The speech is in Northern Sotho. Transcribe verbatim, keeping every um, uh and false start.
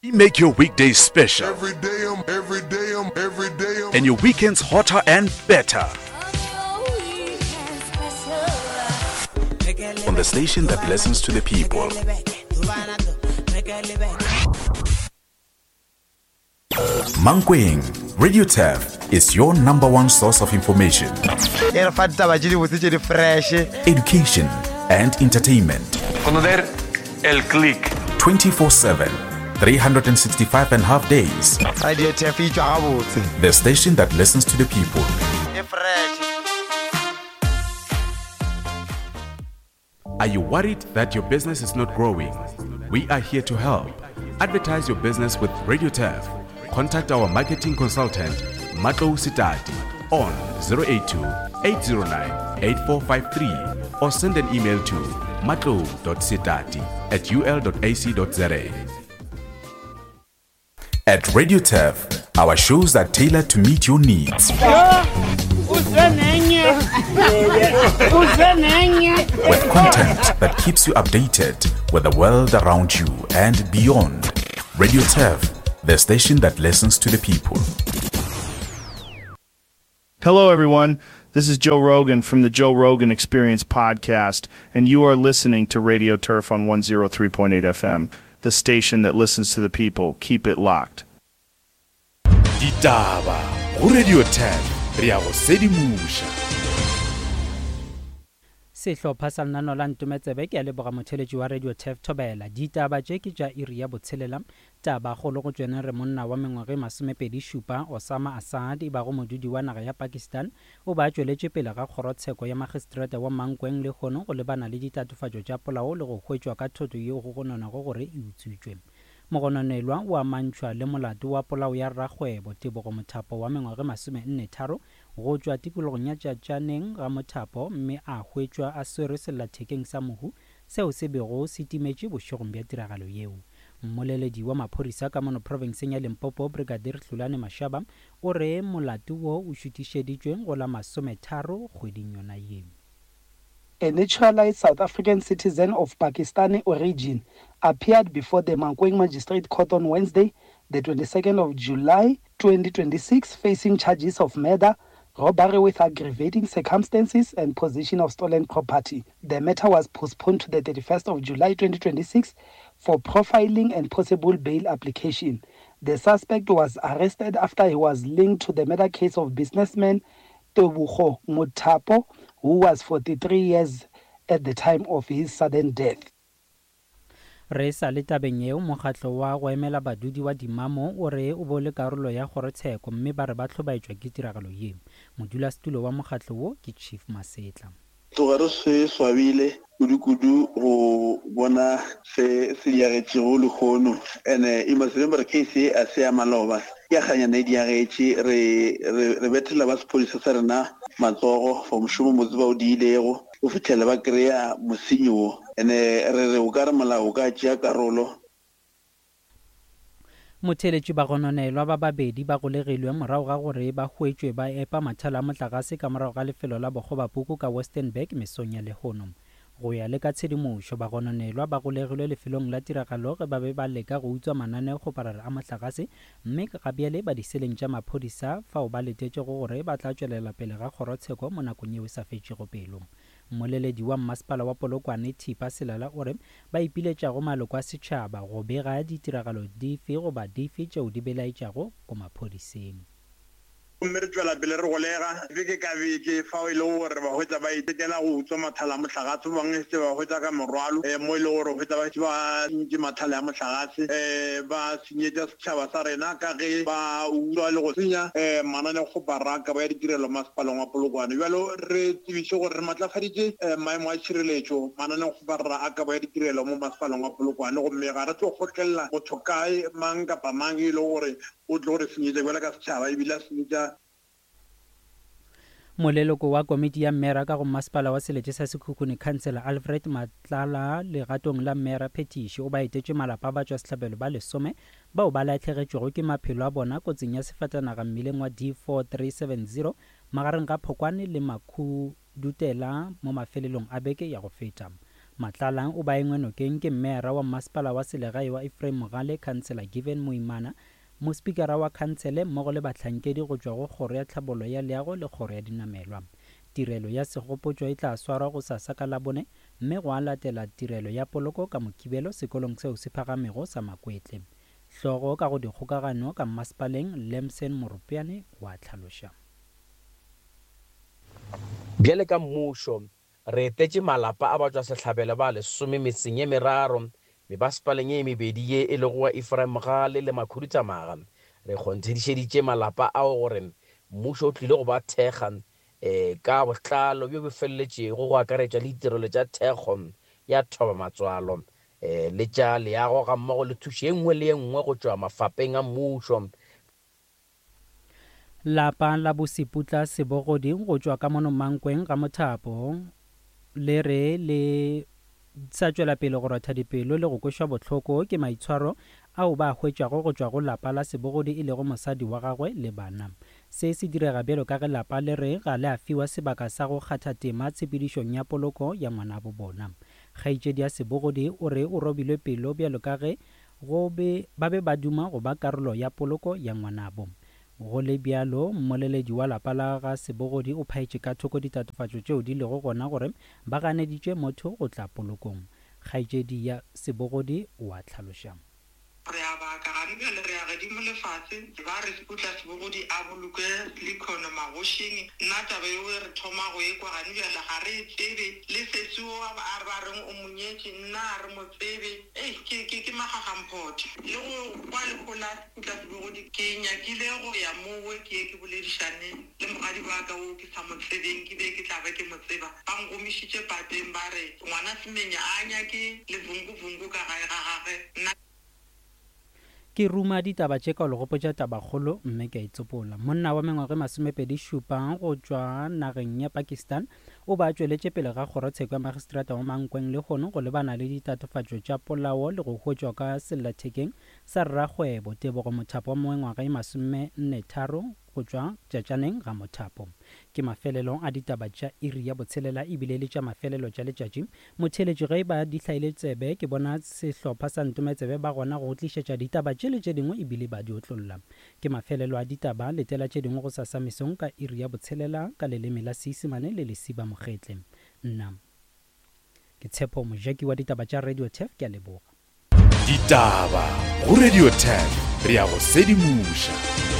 We make your weekdays special. Every day I'm, every day I'm, every day I'm. And your weekends hotter and better. On the station that listens to the people. Mankweng, Radio Turf is your number one source of information. Education and entertainment. Conocer el click. twenty-four seven, three hundred sixty-five and a half days. Radio Turf e tšwa gabotse. The station that listens to the people. E fresh. Are you worried that your business is not growing? We are here to help. Advertise your business with Radio Turf. Contact our marketing consultant, Matlou Sitati, on zero eight two, eight zero nine, eight four five three or send an email to matlou dot sitati at u l dot a c dot z a. At Radio Turf, our shows are tailored to meet your needs. With content that keeps you updated with the world around you and beyond. Radio Turf, the station that listens to the people. Hello, everyone. This is Joe Rogan from the Joe Rogan Experience podcast, and you are listening to Radio Turf on one zero three point eight F M, the station that listens to the people. Keep it locked. Ditaba go Radio Turf, re a go sedimoša. Sehlopha sa lenaneo la Ntometsebe ke a leboga motheletši wa Radio Turf Thobela. Ditaba tše ke tša iri ya botshelela. Taba kgolo go tšwene re monna wa mengwaga e masomepedi šupa Osama Assad e bago modudi wa naga ya Pakistan o ba tšweletše pele ga kgorotsheko ya magistrata wa Mankweng lehono go lebana le ditatofatšo tša polao le go hwetšwa ka thoto yeo go gononwago gore e utswitšwe. Mogononelwa o amantšhwa le molato wa polao ya rakgwebo Tebogo Mothapo wa mengwaga e masomenne tharo go tšwa tikologong ya Tšatšaneng ga Mothapo mme a hwetšwa a swerwe sellathekeng sa mohu seo se bego se timetše bošegong bja tiragalo yeo. Mmoleledi wa maphodisa ka mono profenseng ya Limpopo Brigadier Hlulane Mashaba o re molato wo o šutišeditšwe go la masometharo kgweding yona ye. A naturalized South African citizen of Pakistani origin appeared before the Mankweng Magistrate Court on Wednesday, the twenty-second of July twenty twenty-six, facing charges of murder, robbery with aggravating circumstances, and possession of stolen property. The matter was postponed to the thirty-first of July twenty twenty-six for profiling and possible bail application. The suspect was arrested after he was linked to the murder case of businessman Tebogo Mothapo, who was forty-three years at the time of his sudden death. Re sa le tabeng yeo, mokgatlo wa go emela badudi wa Dimamo o re o bo le karolo ya kgorotsheko mme ba re ba hlobaetšwa ke tiragalo ye. Modulasetulo wa mokgatlo wo ke Chief Masetla. Tloga re se swabile kudu-kudu go bona se se diagetšego lehono. And-e you must remember case e a se ya maloba, ke ya kganyana e diagetše. Re, re, re bethela ba sephodisa sa rena matsogo for mošomo motse ba o diilego go fitlhela ba kry-a mosenyi wo. And-e re re o ka re molao o ka tšea karolo. Motheletši ba gononelwa ba babedi ba golegilwe morago ga gore ba hwetšwe ba epa mathala a motlakase ka morago ga lefelo la Bokgobapuku ka Westenburg mesong ya lehono. Go ya le ka tshedimošo, ba gononelwa ba golegilwe lefelong la tiragalo ge ba be ba leka go utswa mananeokgoparara a motlakase mme ga bjale ba diseleng tša maphodisa fao ba letetšego gore ba tla tšwelela pele ga kgorotsheko mo nakong yeo e sa fetšego pelo. Mmoleledi wa mmasepala wa Polokwane Thipa Selala o re ba ipiletšago maloko a setšhaba go bega ditiragalo dife goba dife tšeo di belaetšago ko maphodiseng. Gomme re tšwela pele re golega beke ka beke fao e lego gore ba hwetša ba itekela go utswa mathala a mohlagase, ba bangwe se ba hwetša ka morwalo, eh, mo e lego gore hwetša ba šetše ba sentše mathala a mohlagase, eh, ba senyetša setšhaba sa rena ka ge ba utswa le go senya, eh, mananeokgoparara ka ba ya ditirelo masepaleng wa Polokwane. Bjalo re tsebiše gore re matlafaditše, eh, maemo a tšhireletšo mananeokgoparara a kabo ya ditirelo mo masepaleng wa Polokwane, gomme ga re tlo kgotlelela motho kae mang kapa mang e lego gore o tlo re senyetša bjalo ka setšhaba ebile a senyetša. Moleloko wa komiti ya mmera ka go masepala wa selete sa Sekhukhune Councillor Alfred Matlala legatong la mmera Phetiši o ba etetše malapa ba tšwa sehlabelo ba lesome bao ba lahlegetšwego ke maphelo a bona kotsing ya sefatanaga mmileng wa D four three seven zero magareng ga Phokwane le Makhudutela mo mafelelong a beke ya go feta. Matlala o ba engwe nokeng ke mmeara wa mmasepala wa selegae wa Ephraim Mogale, Councillor Given Moimana, mospikara wa khansele mmogo le bahlankedi go tšwa go Kgoro ya Tlhabollo ya Leago le Kgoro ya Dinamelwa. Tirelo ya segopotšo e tla swarwa gosasa ka Labone mme gwa latela tirelo ya poloko ka Mokibelo sekolong seo se phagamego sa Makwetle. Hlogo ka go dikgokagano ka mmasepaleng Lemson Morupiane wa hlaloša. Bjale ka mmušo, re etetše malapa a batšwasehlabelo ba lesome metseng ye meraro mebasepaleng ye mebedi ye e lego wa Ephraim Mogale le Makhuduthamaga. Re kgonthišeditše malapa ao gore mmušo o tlile go ba thekga um ka botlalo bjo bo feleletšego, go akaretša le ditirelo tša thekgo ya thobamatswalo um le tša leago gammogo le thušo ye nngwe le ye nngwe go tšwa mafapeng a mmušo. Lapa la boSeputla Sebogodi go tšwa ka mono Mankweng ga Mothapo le re le sa tšwela pele go rotha dipelo le go kwešwa bohloko ke maitshwaro ao ba a hwetšago go tšwa go lapa la Sebogodi e lego mosadi wa gagwe le bana. Se se direga bjalo ka ge lapa le re ga le a fiwa sebaka sa go kgatha tema tshepedišong ya poloko ya ngwanabo bona. Kgaetšedi ya Sebogodi o re o robilwe pelo bjalo ka ge go be ba be ba duma go ba karolo ya poloko ya ngwanabo. Go le bjalo, mmoleledi wa lapa la ga Sebogodi o phaetše ka thoko ditatofatšo tšeo di lego gona gore ba ganeditše motho go tla polokong. Kgaetšedi ya Sebogodi o a hlaloša. Re a baka gane bjale, re ya gedimo lefase, ba re Seputla Sebogodi a boloke Likhono magošing. Nna taba yeo re thoma go ekwa gane bjale ga re e tsebe, le sesi wo a ba reng o mo nyetše nna a re mo tsebe. Ei, ke, ke, ke magagamphote. Le go kwa lehu la Seputla Sebogodi, ke nyakile go ya mowe ke ye ke boledišane le mogadi wa ka wo ke sa mo tsebeng, ke be ke tla ba ke mo tseba. Ba ngomišitše pateng ba re ngwana Semenya a nyake levunguvungu ka gae ga gagwe. Nna Ke ruma ditaba tše ka go le gopotša tabakgolo mme ke a itsopola. Monna wa mengwaga e masomepedi šupa go tšwa nageng ya Pakistan o ba tšweletše pele ga kgorotsheko ya magistrata wa Mankweng lehono go lebana le ditatofatšo tša polao le go hwetšwa ka sellathekeng sa rrakgwebo Tebogo Mothapo wa mengwaga e masomenne tharo go tšwa Tšatšaneng ga Mothapo. Ke mafelelo a ditaba tša iri ya botshelela ebile le tša mafelelo tša letšatši. Motheeletši ge ba di hlaile tsebe ke bona sehlopha sa Ntometsebe ba gona go tlišetša ditaba tše le tše dingwe ebile ba di otlolla. Ke mafelelo a ditaba, letela tše dingwe go sasa mesong ka iri ya botshelela ka leleme la Seisemane le Lesiba Mogetle. Nna ke Tshepo Mojaki wa ditaba tša Radio Turf, ke a leboga. Ditaba go Radio Turf, re ya go sedimoša.